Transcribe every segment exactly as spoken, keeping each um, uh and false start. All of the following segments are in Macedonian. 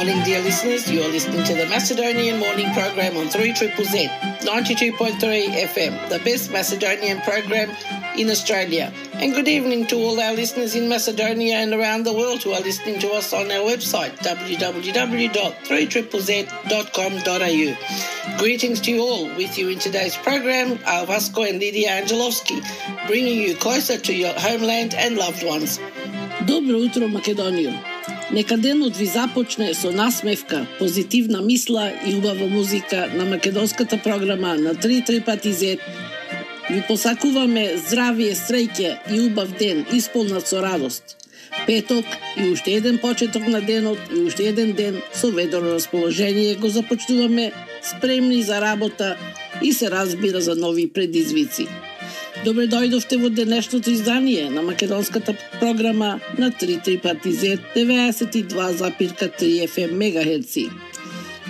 Morning, dear listeners. You are listening to the Macedonian Morning Program on three Z Z Z, ninety-two point three F M, the best Macedonian program in Australia. And good evening to all our listeners in Macedonia and around the world who are listening to us on our website, w w w dot three z z dot com dot a u. Greetings to you all. With you in today's program are Vasco and Lydia Angelovski, bringing you closer to your homeland and loved ones. Добро утро, Македонија! Нека денот ви започне со насмевка, позитивна мисла и убава музика на македонската програма на три пати зет. Ви посакуваме здравие, среќа и убав ден, исполнат со радост. Петок и уште еден почеток на денот и уште еден ден со ведро расположение го започнуваме, спремни за работа и се разбира за нови предизвици. Добре дојдовте во денешното издание на македонската програма на три пати зет деветдесет и два запирка три Ф М мегахерци.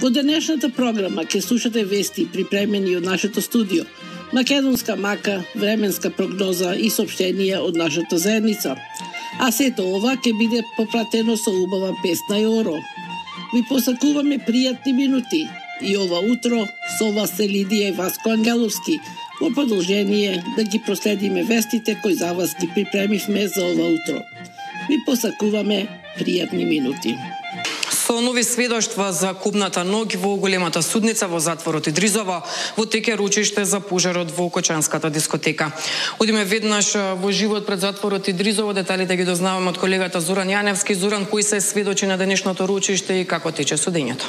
Во денешната програма ќе слушате вести припремени од нашето студио, македонска мака, временска прогноза и соопштенија од нашата заедница. А сето ова ќе биде попратено со убава песна и оро. Ви посакуваме пријатни минути и ова утро со вас се Лидија и Васко Ангеловски. Во продолжение да ги проследиме вестите кои за вас ги припремивме за ова утро. Ви посакуваме пријатни минути. Со нови сведоштва за купната ноќ во големата судница во затворот Идризово, во теке ручиште за пожарот во Кочанската дискотека. Одиме веднаш во живот пред затворот Идризово, деталите ги дознаваме од колегата Зоран Јаневски. Зоран, кои се сведочи на денешното ручиште и како тече судењето?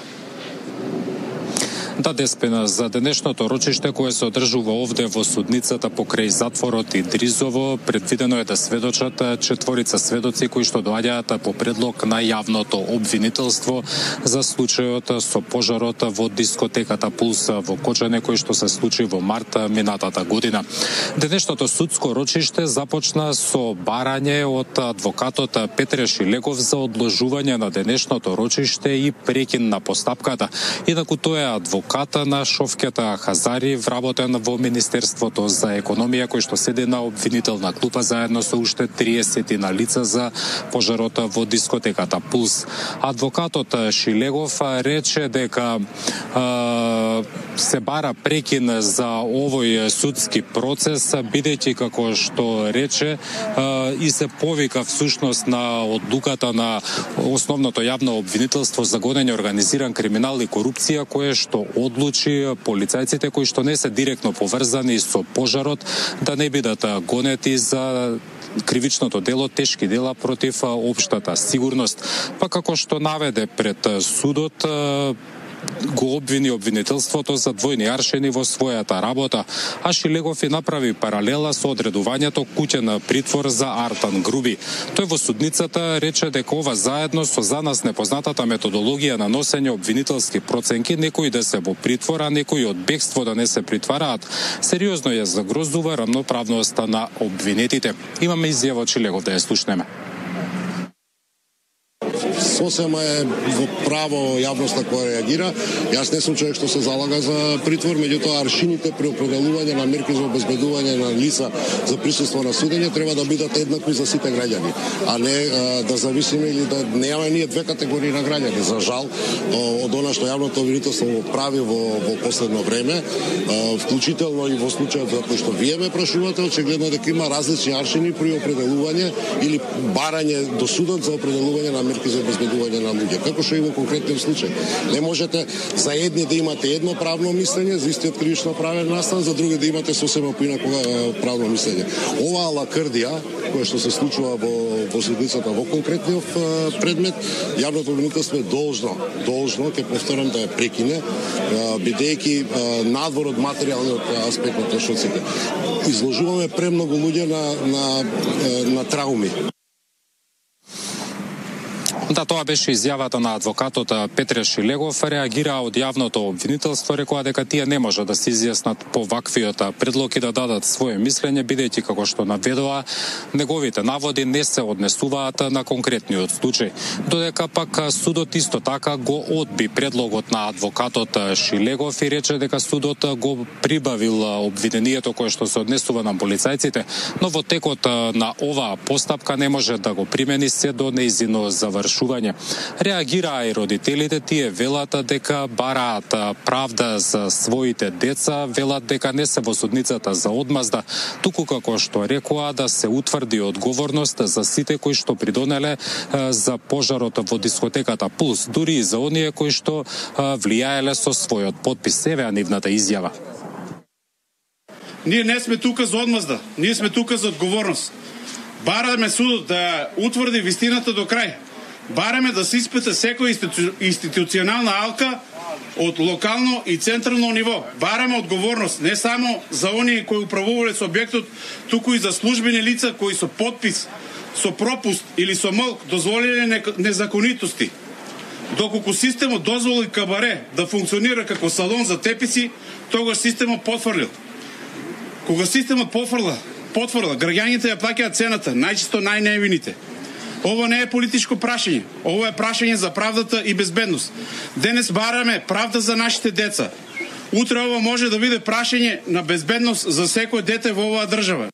Да, Деспина, за денешното рочиште кое се одржува овде во судницата покрај затворот Идризово, предвидено е да сведочат четворица сведоци кои што доаѓаат по предлог на јавното обвинителство за случајот со пожарот во дискотеката Пулс во Кочане кој што се случи во март минатата година. Денешното судско рочиште започна со барање од адвокатот Петре Шилегов за одложување на денешното рочиште и прекин на постапката. Инаку тој е адвокат Адвоката на Шовкета Хазари, вработен во Министерството за економија, кој што седи на обвинителна клупа заедно со уште триесет на лица за пожарот во дискотеката Пулс. Адвокатот Шилегов рече дека е, се бара прекин за овој судски процес, бидејќи како што рече е, и се повика всушност на одлуката на основното јавно обвинителство за гонење организиран криминал и корупција, кое што одлучи полицајците кои што не се директно поврзани со пожарот да не бидат гонети за кривичното дело, тешки дела против општата сигурност. Па како што наведе пред судот, го обвини обвинителството за двојни аршини во својата работа, а Шилегов и направи паралела со одредувањето куќен притвор за Артан Груби. Тој во судницата рече дека ова заедно со за нас непознатата методологија на носење обвинителски проценки, некои да се во притвор, а некои од бегство да не се притвараат, сериозно ја загрозува рамноправноста на обвинетите. Имаме изјава од Шилегов, да ја слушнеме. Сосема е во право јавноста која реагира. Јас не сум човек што се залага за притвор, меѓутоа аршините при определување на мерки за обезбедување на лица за присуство на судење треба да бидат еднакви за сите граѓани, а не а, да зависиме или да немаме ние две категории на граѓани. За жал, од она што јавното обвинителство го прави во, во последно време, а, вклучително и во случајот за кој што вие ме прашувате, очигледно дека има различни аршини при определување или барање до судот за определување на мерки за обезбедување на луѓе. Како што и во конкретниот случај. Не можете за едни да имате едно правно мислење, за истиот кривично правен настан, за други да имате сосема поинако правно мислење. Оваа лакрдија, која што се случува во, во судницата во конкретниот предмет, јавното обвинителство е должно, должно, ќе повторам, да ја прекине, бидејќи надвор од материјалниот аспект на трошоците. Изложуваме премногу луѓе на, на, на трауми. Да, тоа беше изјавата на адвокатот Петре Шилегов. Реагира од јавното обвинителство, рекоа дека тие не може да се изјаснат по ваквиот предлог и да дадат своје мислење, бидејќи како што наведоа, неговите наводи не се однесуваат на конкретниот случај. Додека пак судот исто така го одби предлогот на адвокатот Шилегов и рече дека судот го прибавил обвинението кое што се однесува на полицајците, но во текот на оваа постапка не може да го примени се до нејзино завршување. одлучување. Реагираа и родителите, тие велат дека бараат правда за своите деца, велат дека не се во судницата за одмазда, туку како што рекоа да се утврди одговорност за сите кои што придонеле за пожарот во дискотеката Пулс, дури и за оние кои што влијаеле со својот подпис. Еве нивната изјава. Ние не сме тука за одмазда, ние сме тука за одговорност. Бараме судот да утврди вистината до крај. Бараме да се испита секоја институ... институционална алка од локално и централно ниво. Бараме одговорност не само за оние кои управувале со објектот, туку и за службени лица кои со подпис, со пропуст или со молк дозволиле незаконитости. Доколку системот дозволи кабаре да функционира како салон за теписи, тогаш системот потврлил. Кога системот потврла, потврла, граѓаните ја плаќаат цената, најчесто најневините. Ова не е политичко прашање, ова е прашање за правдата и безбедност. Денес бараме правда за нашите деца. Утре ова може да биде прашање на безбедност за секој дете во оваа држава.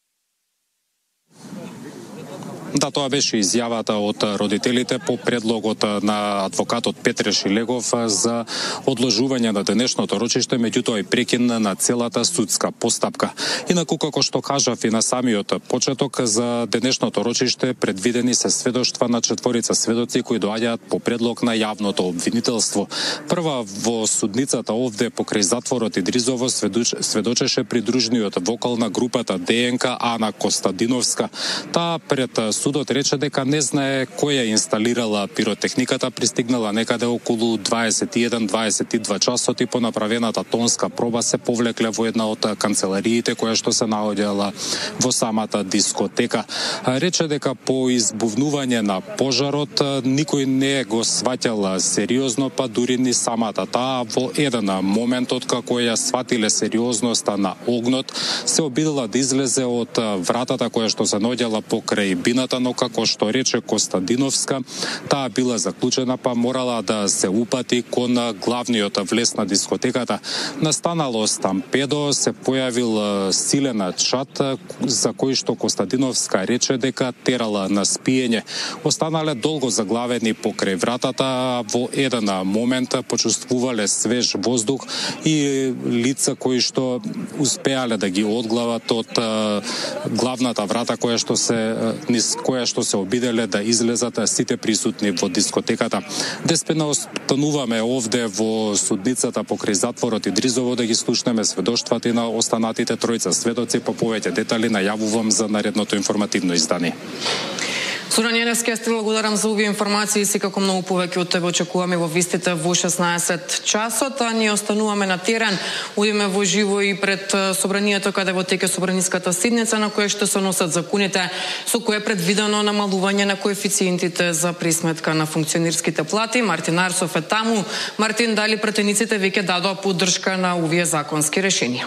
Да, тоа беше изјавата од родителите по предлогот на адвокатот Петре Шилегов за одложување на денешното рочиште, меѓутоа и прекин на целата судска постапка. Инаку, како што кажав и на самиот почеток, за денешното рочиште предвидени се сведоштва на четворица сведоци кои доаѓаат по предлог на јавното обвинителство. Прва во судницата овде покрај затворот Идризово сведочеше придружниот вокал на групата ДНК Ана Костадиновска. Таа пред судот рече дека не знае кој ја инсталирала пиротехниката, пристигнала некаде околу дваесет и еден дваесет и два часот и по направената тонска проба се повлекле во една од канцелариите која што се наоѓала во самата дискотека. Рече дека по избувнување на пожарот никој не го сваќал сериозно, па дури ни самата таа во еден момент откако ја сватиле сериозноста на огнот, се обидела да излезе од вратата која што се наоѓала покрај бината, но како што рече Костадиновска, таа била заклучена, па морала да се упати кон главниот влез на дискотеката. Настанало стампедо, се појавил силен чат за кој што Костадиновска рече дека терала на спиење. Останале долго заглавени покрај вратата, во еден момент почувствувале свеж воздух и лица кои што успеале да ги одглават од главната врата која што се низ која што се обиделе да излезат сите присутни во дискотеката. Деспина остануваме овде во судницата покрај затворот Идризово да ги слушнеме сведоштвата на останатите тројца сведоци. По повеќе детали најавувам за наредното информативно издание. Сура Неневски, јас ти благодарам за овие информации и секако многу повеќе од тебе очекуваме во вистите во шеснаесет часот, а ние остануваме на терен. Одиме во живо и пред собранието каде во теке собраниската седница на која што се носат законите со кое е предвидено намалување на коефициентите за присметка на функционерските плати. Мартин Арсов е таму. Мартин, дали пратениците веќе дадоа поддршка на овие законски решенија?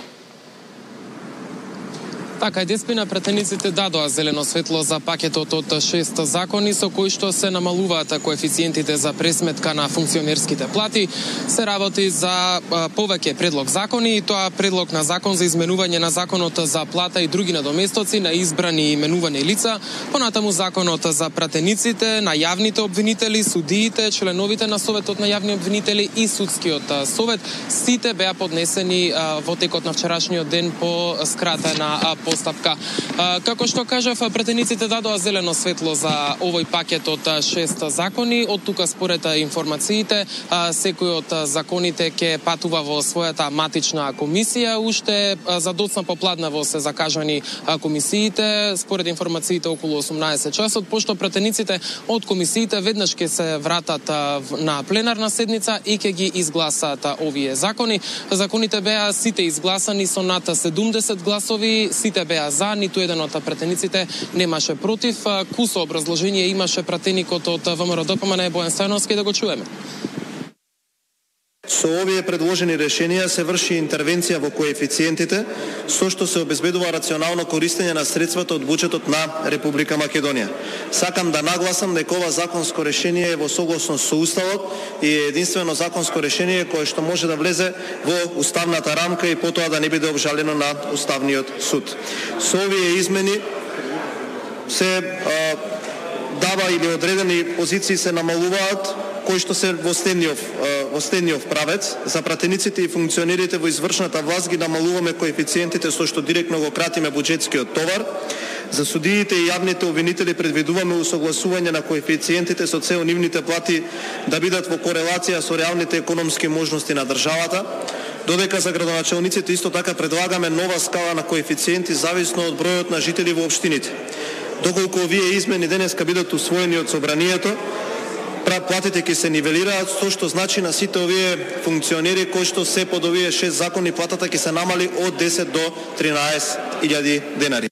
Така, Деспина, пратениците дадоа зелено светло за пакетот од шест закони со кои што се намалуваат коефициентите за пресметка на функционерските плати. Се работи за повеќе предлог закони и тоа предлог на закон за изменување на законот за плата и други надоместоци на избрани и именувани лица, понатаму законот за пратениците, на јавните обвинители, судиите, членовите на советот на јавни обвинители и судскиот совет. Сите беа поднесени во текот на вчерашниот ден по скратена постапка. Како што кажав, пратениците дадоа зелено светло за овој пакет од шест закони. Од тука според информациите, секој од законите ќе патува во својата матична комисија. Уште за доцна попладнево се закажани комисиите, според информациите околу осумнаесет часот, пошто пратениците од комисиите веднаш ќе се вратат на пленарна седница и ќе ги изгласаат овие закони. Законите беа сите изгласани со над седумдесет гласови, сите беа за, ниту еден од пратениците немаше против. Кусо образложение имаше пратеникот од ВМРО-ДПМН Бојан Стојановски, да го чуеме. Со овие предложени решенија се врши интервенција во коефициентите, со што се обезбедува рационално користење на средствата од буџетот на Република Македонија. Сакам да нагласам дека ова законско решение е во согласност со Уставот и е единствено законско решение кое што може да влезе во уставната рамка и потоа да не биде обжалено на Уставниот суд. Со овие измени се а, дава или одредени позиции се намалуваат, кои што се во следниот во следниот правец. За пратениците и функционерите во извршната власт ги намалуваме коефициентите со што директно го кратиме буџетскиот товар. За судиите и јавните обвинители предвидуваме усогласување на коефициентите со цел нивните плати да бидат во корелација со реалните економски можности на државата. Додека за градоначалниците исто така предлагаме нова скала на коефициенти зависно од бројот на жители во општините. Доколку овие измени денеска бидат усвоени од собранието, платите ќе се нивелираат, со што значи на сите овие функционери кои што се под овие шест закони платата ќе се намали од десет до тринаесет илјади денари.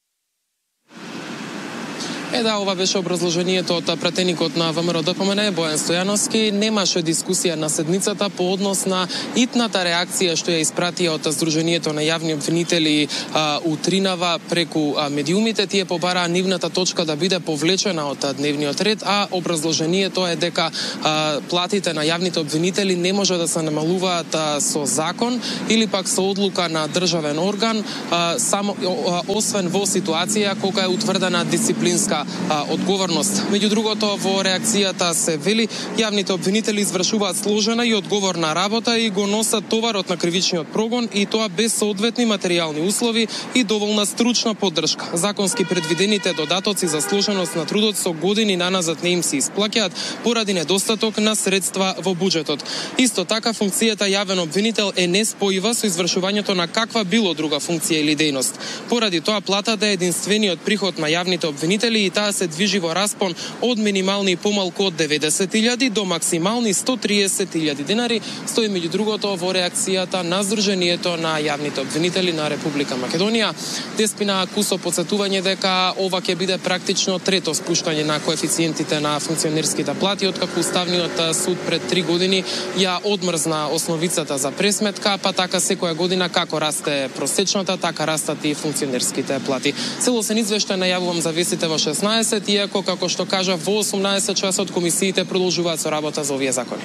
Е, да, ова беше образложението од пратеникот на ВМРО Д П М Н, Бојан Стојановски. Немаше дискусија на седницата по однос на итната реакција што ја испратија од Сдруженијето на јавни обвинители а, утринава преку а, медиумите. Тие побараа нивната точка да биде повлечена од а, дневниот ред, а образложението е дека а, платите на јавните обвинители не може да се намалуваат а, со закон или пак со одлука на државен орган, а, само а, освен во ситуација кога е утврдена дисциплинска А, одговорност. Меѓу другото, во реакцијата се вели, јавните обвинители извршуваат сложена и одговорна работа и го носат товарот на кривичниот прогон, и тоа без соодветни материјални услови и доволна стручна поддршка. Законски предвидените додатоци за сложеност на трудот со години наназад не им се исплаќаат поради недостаток на средства во буџетот. Исто така, функцијата јавен обвинител е неспојива со извршувањето на каква било друга функција или дејност. Поради тоа, платата е единствениот приход на јавните обвинители и таа се движи во распон од минимални и помалку од деветдесет илјади до максимални сто триесет илјади денари, стои меѓу другото во реакцијата на Сдруженијето на јавните обвинители на Република Македонија. Деспина Кусо подсетување дека ова ќе биде практично трето спуштање на коефициентите на функционерските плати, откако Уставниот суд пред три години ја одмрзна основицата за пресметка, па така секоја година како расте просечната, така растат и функционерските плати. Целосен извештај најавувам за вестите во шеснаесет, иако, како што кажа, во осумнаесет часот комисиите продолжуваат со работа за овие закони.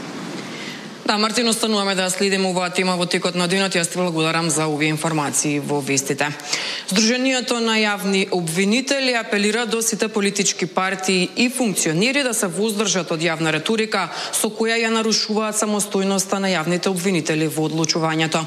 Да, Мартин, остануваме да следиме оваа тема во текот на денот. Јас ти благодарам за овие информации во вестите. Сдруженијето на јавни обвинители апелира до сите политички партии и функционери да се воздржат од јавна реторика со која ја нарушуваат самостојноста на јавните обвинители во одлучувањето.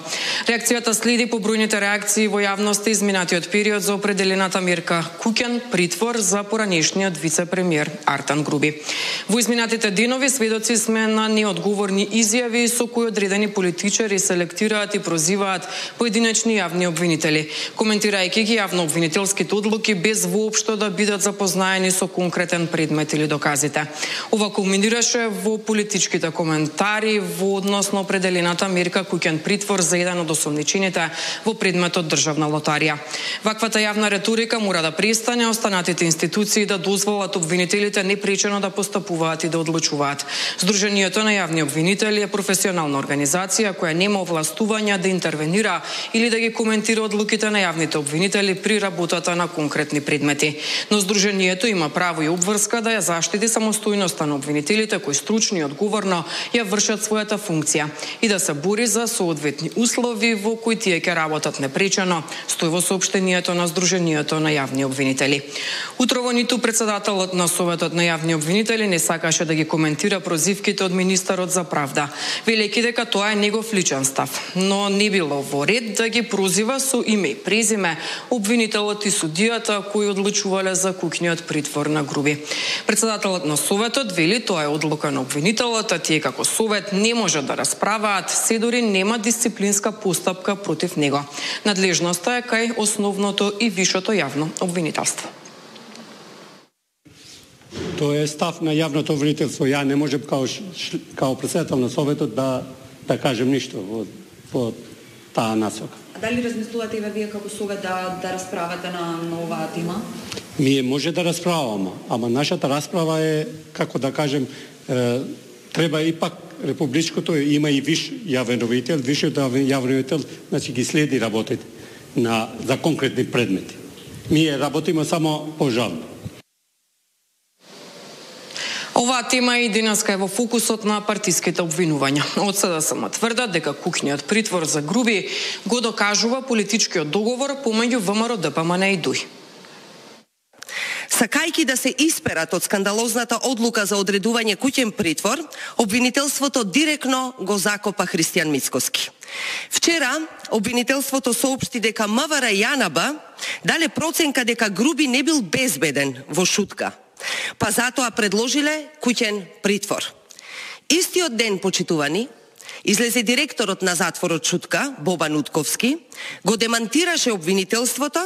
Реакцијата следи по бројните реакции во јавноста изминатиот период за определената мерка куќен притвор за поранешниот вице-премиер Артан Груби. Во изминатите денови сведоци сме на неодговорни изјави со кои одредени политичари селектираат и прозиваат поединечни јавни обвинители, коментирајќи ги јавно-обвинителските одлуки без воопшто да бидат запознаени со конкретен предмет или доказите. Ова кулминираше во политичките коментари во однос на определената мерка куќен притвор за еден од осомничените во предметот државна лотарија. Ваквата јавна реторика мора да престане, останатите институции да дозволат обвинителите непречено да постапуваат и да одлучуваат. Сдруженијето на јавни обвинители е професионална организација која нема овластувања да интервенира или да ги коментира одлуките на јавните обвинители при работата на конкретни предмети. Но Сдруженијето има право и обврска да ја заштити самостојноста на обвинителите кои стручно и одговорно ја вршат својата функција и да се бори за соодветни услови во кои тие ќе работат непречено, стои во соопштението на Сдруженијето на јавни обвинители. Утрово ниту председателот на Советот на јавни обвинители не сакаше да ги коментира прозивките од министерот за правда, велејќи дека тоа е негов личен став, но не било во ред да ги прозива со име и презиме обвинителот и судијата кои одлучувале за куќниот притвор на Груби. Председателот на Советот вели тоа е одлука на обвинителот, а тие како Совет не можат да расправаат, се дори нема дисциплинска постапка против него. Надлежноста е кај основното и вишото јавно обвинителство. Тоа е став на јавното обвинителство. Ја не можам као, као председател на Советот да, да кажем ништо во, во таа насока. А дали размислувате и вие како Совет да, да расправате на, на оваа тема? Ние може да расправаме, ама нашата расправа е, како да кажем, е, треба и пак републичкото, има и виш јавен обвинител, вишиот јавен обвинител, значи ги следи работите на, за конкретни предмети. Ние работиме само по жалби. Оваа тема и денеска е во фокусот на партиските обвинувања. Од СДСМ тврдат дека куќниот притвор за Груби го докажува политичкиот договор помеѓу ВМРО Д П М Н и Д У И. Сакајќи да се исперат од скандалозната одлука за одредување куќен притвор, обвинителството директно го закопа Христијан Мицкоски. Вчера обвинителството соопшти дека МВР и АНБ дале проценка дека Груби не бил безбеден во Шутка, па затоа предложиле куќен притвор. Истиот ден, почитувани, излезе директорот на затворот Шутка, Бобан Утковски, го демантираше обвинителството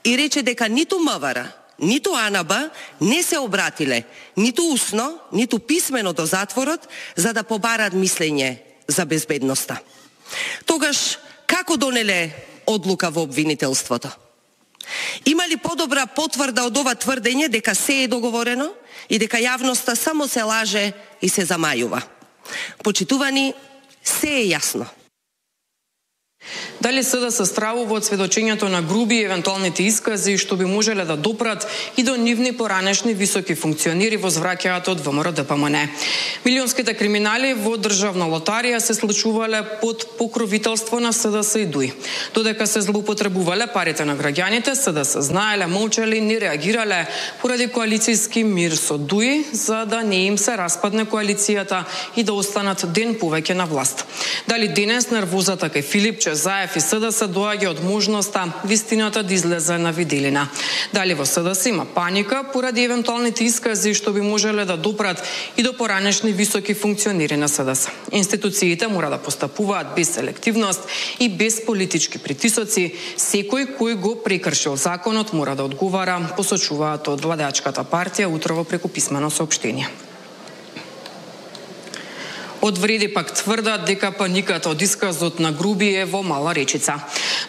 и рече дека ниту МВР, ниту АНБ не се обратиле, ниту усно, ниту писмено до затворот, за да побарат мислење за безбедноста. Тогаш, како донеле одлука во обвинителството? Има ли подобра потврда од ова тврдење дека се е договорено и дека јавноста само се лаже и се замајува? Почитувани, се е јасно. Дали СДС стравува од сведочењето на Груби и евентуалните искази што би можеле да допрат и до нивни поранешни високи функционери во звраќајата од ВМРО Д П М Н. Милионските криминали во државна лотарија се случувале под покровителство на СДС и ДУИ. Додека се злоупотребувале парите на граѓаните, СДС знаеле, молчеле и не реагирале поради коалицијски мир со ДУИ, за да не им се распадне коалицијата и да останат ден повеќе на власт. Дали денес нервозата кај Филипче, Заев и СДС доаѓа од можноста вистината да излезе на виделина? Дали во СДС има паника поради евентуалните искази што би можеле да допрат и до поранешни високи функционери на СДС? Институциите мора да постапуваат без селективност и без политички притисоци. Секој кој го прекршил законот мора да одговара, посочуваат од владеачката партија утрово преку писмено соопштение. Од Вреди пак тврдат дека паниката од исказот на Груби е во Мала Речица.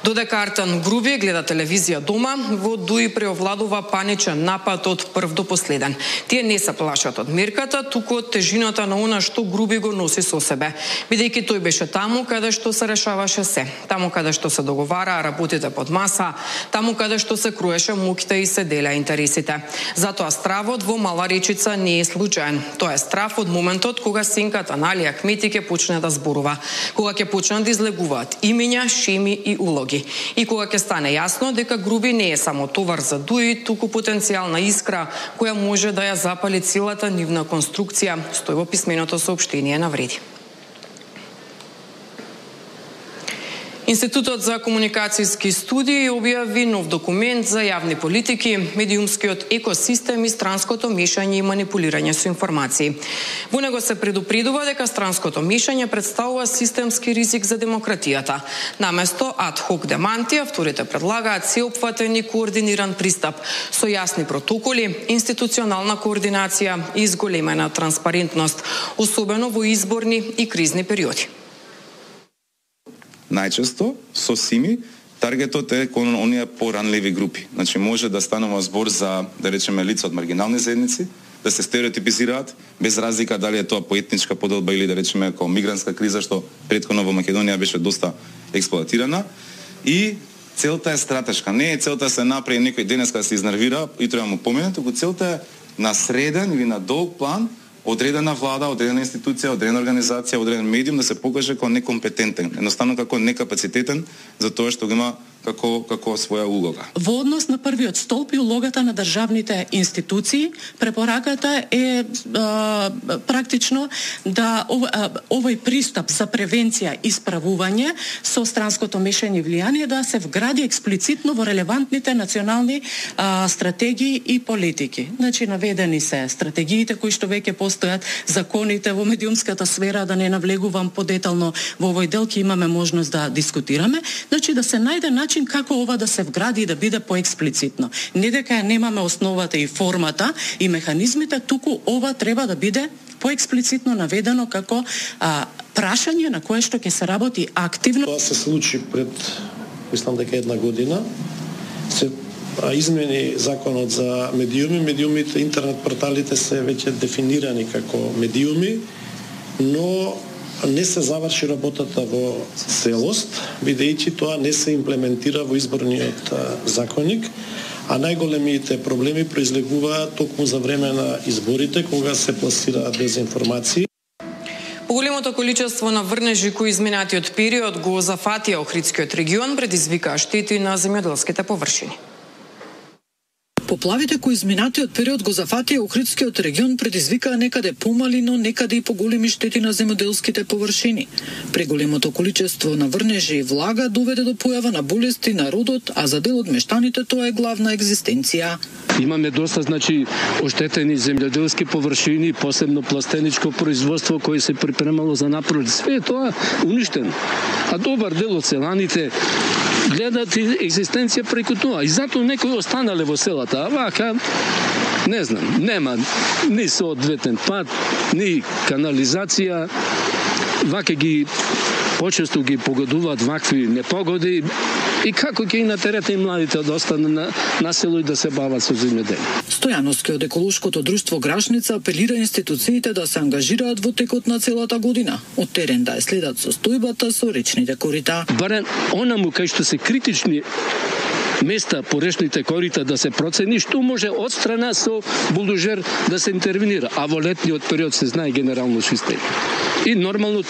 Додека Артан Груби гледа телевизија дома, во ДУИ преовладува паничен напад од прв до последен. Тие не се плашат од мерката, туку од тежината на она што Груби го носи со себе, бидејќи тој беше таму каде што се решаваше се, таму каде што се договараа работите под маса, таму каде што се круеше муките и се делеа интересите. Затоа стравот во Мала Речица не е случаен. Тоа е страв од моментот кога синката на Алија Кмети ќе почне да зборува, кога ќе почнат да излегуваат имиња, шеми и улоги. И кога ќе стане јасно дека Груби не е само товар за ДУИ, туку потенцијална искра која може да ја запали целата нивна конструкција, стои во писменото соопштение на Вреди. Институтот за комуникацијски студии објави нов документ за јавни политики, медиумскиот екосистем и странското мешање и манипулирање со информации. Во него се предупредува дека странското мешање представува системски ризик за демократијата. Наместо ад-хок деманти, авторите предлагаат сеопфатен и координиран пристап со јасни протоколи, институционална координација и изголемена транспарентност, особено во изборни и кризни периоди. Најчесто со СИМИ таргетот е кон оние поранливи групи. Значи може да станува збор за, да речеме, лица од маргинални заедници, да се стереотипизираат без разлика дали е тоа по етничка поделба или да речеме како мигрантска криза што претходно во Македонија беше доста експлоатирана. И целта е стратешка. Не е целта да се направи некој денеска да се изнервира и треба му помине, туку целта е на среден или на долг план одредена влада, одредена институција, одредена организација, одреден медиум да се покаже како некомпетентен, едноставно како некапацитетен за тоа што го има како како своја улога. Во однос на првиот столб и улогата на државните институции, препораката е а, практично да ов, а, овој пристап за превенција и справување со странското мешање и влијание да се вгради експлицитно во релевантните национални а, стратегии и политики. Значи наведени се стратегиите кои што веќе постојат, законите во медиумската сфера, да не навлегувам подетално во овој дел, ќе имаме можност да дискутираме, значи да се најде начин како ова да се вгради и да биде поексплицитно. Не дека немаме основата и формата и механизмите, туку ова треба да биде поексплицитно наведено како а, прашање на кое што ќе се работи активно. Тоа се случи пред, мислам дека една година, се измени законот за медиуми. Медиумите, интернет порталите се веќе дефинирани како медиуми, но не се заврши работата во целост, бидејќи тоа не се имплементира во изборниот законник, а најголемите проблеми произлегуваат токму за време на изборите, кога се пласираат дезинформации. Поголемото количество на врнежи кои изминатиот период го зафатија Охридскиот регион предизвикаа штети на земјоделските површини. Поплавите кои изминатиот период го зафатија Охридскиот регион предизвикаа некаде помали, но некаде и поголеми штети на земјоделските површини. Преголемото количество на врнежи и влага доведе до појава на болести на родот, а за дел од мештаните тоа е главна екзистенција. Имаме доста, значи, оштетени земјоделски површини, посебно пластеничко производство кое се припремало за напролет. Све тоа уништено. А добар дел од селаните гледат екзистенција преку тоа. И затоа некои останале во селата. А вака, не знам, нема ни соодветен пат, ни канализација. Вака ги почесто ги погодуваат вакви непогоди и како ќе и натерете и младите да останат на, на село и да се бават со земјоделие. Стојановски од еколошкото друштво Грашница апелира институциите да се ангажираат во текот на целата година, од терен да ја следат состојбата со речните корита. Барем онаму кај што се критични места по речните корита да се процени што може од страна со булдожер да се интервенира, а во летниот период се знае генерално систем. И нормално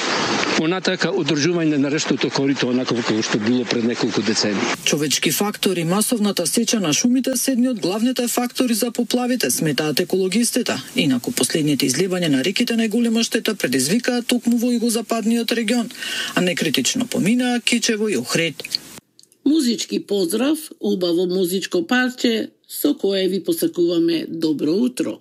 понатака одржување на речното корито онако како што било пред неколку децени. Човечки фактори, масовната сеча на шумите се едни од главните фактори за поплавите, сметаат екологистите. Инаку последните изливања на реките најголема штета предизвикаа токму во југозападниот регион, а некритично поминаа Кичево и Охрид. Музички поздрав, убаво музичко парче со кое ви посакуваме добро утро.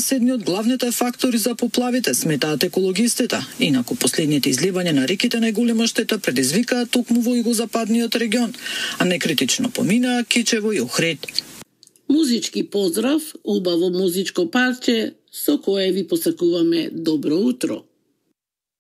Се едни од главните фактори за поплавите, сметаат екологистите. Инаку последните изливања на реките најголема штета предизвикаа токму во југозападниот регион, а некритично поминаа Кичево и Охрид. Музички поздрав, убаво музичко парче со кое ви посакуваме добро утро.